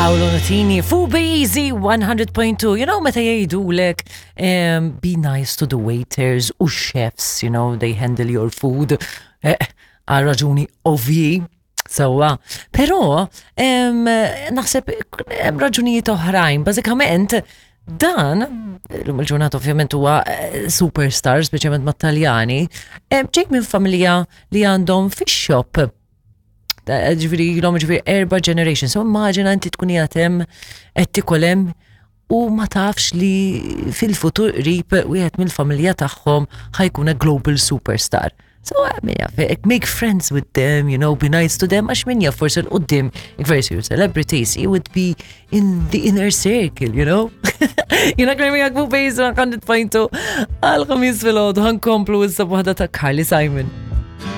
Paolo Nutini, Fu Easy 100.2. You know, meta jgħidulek um, be nice to the waiters u chefs, you know, they handle your food. Eh, għal raġuni ovji. Sewwa. Però naħseb hemm raġunijiet oħrajn. Bażikament dan l-lum il-ġurnata ovvjament huwa eh, superstar, speċjalment mat-Taljani, ġej minn familja li għandhom fish shop. Eh, ġifieri ilhom ġifieri erba' generation. So immaġina inti tkun qiegħed hemm qed tikol hemm u ma tafx li fil-futur qrib wieħed mill-familja tagħhom ħa jkun a global superstar. So, min jaf, make friends with them, you know, be nice to them, għax min jaf forsi 'l quddiem, if you're celebrities, you would be in the inner circle, you know? Jiena Claire miegħek fuq Base 100.2 għal ħamis filgħodu ħa nkomplu issa b'waħda ta' Carly Simon.